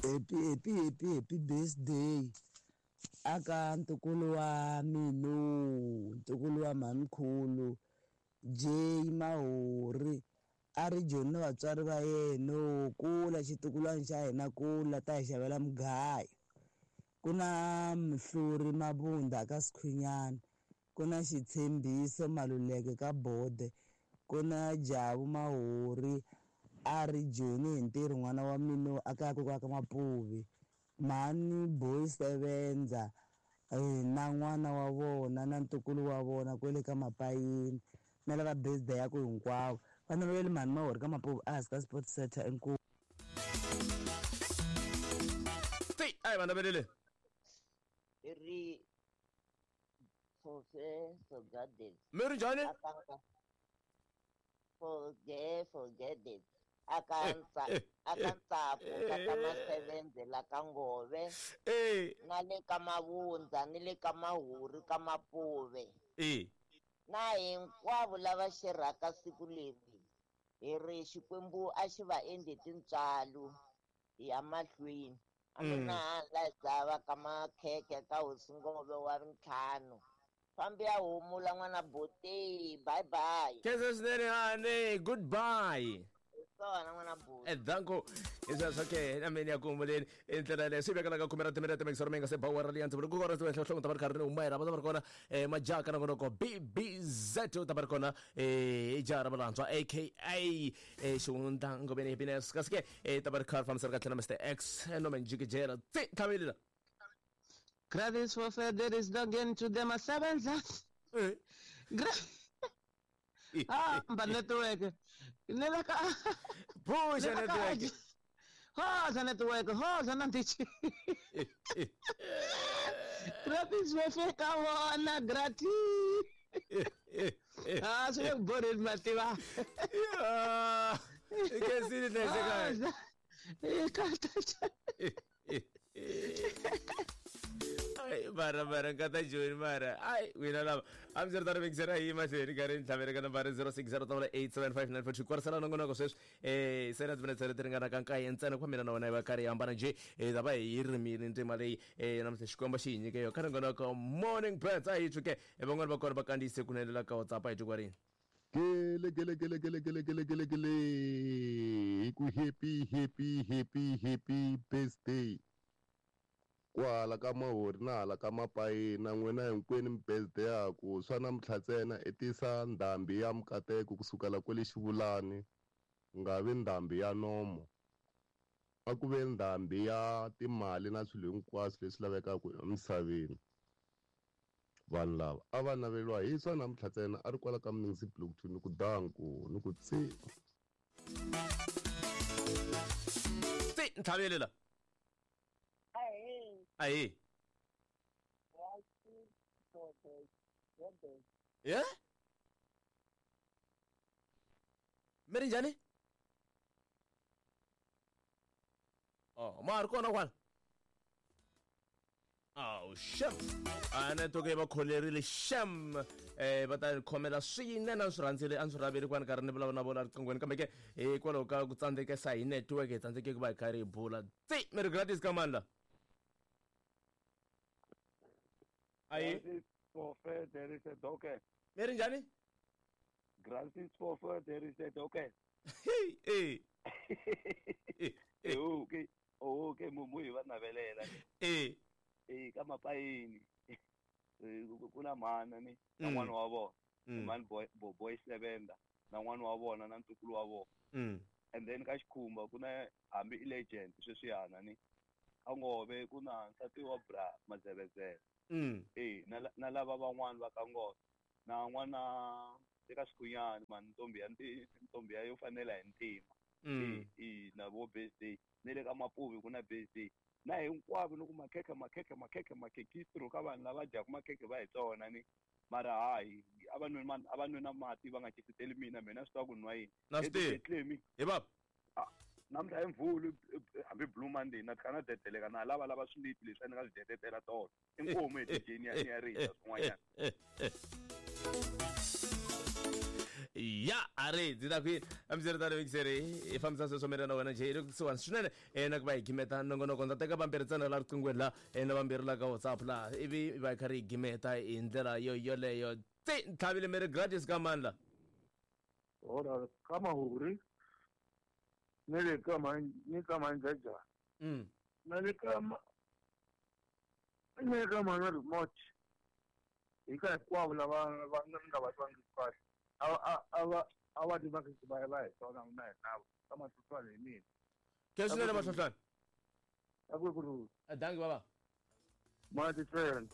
Happy happy happy happy birthday aka ntukulu wa minu ntukulu wa mhamkhulu J Mahori a ri Joni na vatswari va yena kula xitukulwana xa hina kula ta hi xavela mugayo ku na Mhluri Mabunda ka Sikhwinyana ku na Xitshembiso Maluleke ka Bode ku na Jabu Mahori a ri Joni hi ntirho n'wana wa mina a kaya kokwa ka Mapuvi mhani Boy Sevenza na n'wana wa vona na ntukulu wa vona kwele ka Mapayini na lava birthday ya ku hinkwavo va navele mhani Mahori ka Mapuvi a hansi ka Sport Center inkomu. Ti a hi va navelele. Ri Professor Gardens. Mi ri njhani? Forget, forget it. Aka aka Ntsako ka ka Masevenze la ka Ngove na le ka Mavundza ni le ka Mahuri ka Mapuve na hinkwavo lava xerhaka siku leri hi ri Xikwembu a xi va endli tintswalo hi ya mahlweni a mina la dzava ka makhekhe ka hosi Ngove wa ntlhanu fambi ya humula n'wana boti bye bye. Khensa swinene honey goodbye. Swona n'wana boti. Danko isweswo ke na mina ya ku humeleni i ndlela yaleyo swi vekela ka khume ra timinete mixero mi nga se ba wara liya ndzi vula ku kona nhloko ta va ri karhi ri huma va ta va ri kona majaka na ngonoko BBZ u ta va ri kona i jaha ra valantshwa aka xihundla ngoveni happiness kasi ke ta va ri kha ri fambisana kahle na Mr X no menjikijela tsi tlhavelela. Gratis for there is no gain to them asebenza. Hamba network. Nela ka. Puxa network. Rosa network, Rosa nantichi. Gratis for ka wona gratis. Ah, so you bored mativa. Yeah. Ke sini tlese ka. Ai mara mara nkata Joni mara ai wena lava a mi ri mixera hi mahlweni karhi ni tlhavele ka nambara 06087594 kwarisana nongonoko sweswi se na timinetse leti ringanaka nkaye ntsena ku mina na wena hi va karhi hi hambana njhe ta va hi rimile ndzima leyi namuntlha Xikwembu xi hi nyike yona ka nongonoko Morning Birds a hi twi ke van'wani va kona va kandziyise kunene la ka WhatsApp a hi twi kwarini. Gele gele gele gele gele gele gele gele hi ku happy happy happy happy birthday kwala ka Mahori na hala ka Mapayina n'wina hinkwenu mi birthday yaku swa namuntlha ntsena i tisa ndhambi ya mikateko kusukela kwele Xivulani ku nga vi ndhambi ya nomo a ku ve ndhambi ya timali na swilo hinkwaswo leswi lavekaka emisaveni. Vanhu lava a va naveliwa hi swa namuntlha ntsena a ri kwala ka Mningisi Block 2 ni ku danku ni ku tsi tsi ntlhavelela. Ahe. Yeah? Mi ri njhani? Oh, ma ri kona kwala. Oh, shem. A network yi va kholerile shem. Va ta khomela swinene a swi rhandzile a swi raveli kwani karhi ni vulavula na vona riqinghweni kambe ke hikwalaho ka ku tsandzekesa hi network hi tsandzeke ku va hi karhi hi bula. Tsi mi ri gratis ka mani la? Ayi. Mi ri njhani? Gratis for there is a docket. Eh. Okay. Okay, mumu hi va navelela. Eh. Ka Mapayini. Ku na mhana ni na n'wana wa vona. Mhani boy boy Sevenda na n'wana wa vona na ntukulu wa vona. And then ka Xikhumba ku na hambi i legend sweswiyana ni. Ka Ngove ku na nsati wa bra Mazevezele. Na lava van'wana va ka Ngove. Na n'wana eka Xikhunyani mani ntombi ya ntombi ya yo fanela hi ntima. Na vo birthday. Ni le ka Mapuvi ku na birthday. Na hinkwavo ni ku makhekhe makhekhe makhekhe makhekistro ka vanhu lava dyaka makhekhe va hi tsona ni mara hayi a va nwi a va nwi na mati va nga cisiteli mina mina swi tiva ku nwa yini. Na swi tivi. Hi baba. Namuntlha hi Mvhulu hambi Blue Monday na tlhela na dedeleka na lava lava swilipi leswi a ni nga swi detetela tolo. Inkomu hi DJ ni ya risa swin'wanyana. Ya a ri ndzi ta kwini hambiswiritano mikiseri hi fambisa sweswo mina na wena njhe hi le kusuhani swinene na ku va hi gimeta nongonoko. Ndza teka vambirhi ntsena la riqingweni la na vambirhi la ka WhatsApp la, ivi va hi kha ri hi gimeta hi ndlela yo yoleyo. Tse ntlhavile mere gratis ka mandla. Ora ka Mahuri ni le ka ni ka Manjaja. Na le ka ni le ka mana remote. Hi ka hinkwavo lava va nga va twangiki kahle. A va ti va va va hi tona na hi navo ka Mahlohlwana hi mina. Ke swinene Mahlohlwana. A ku ri Dangi baba. Mati tsena.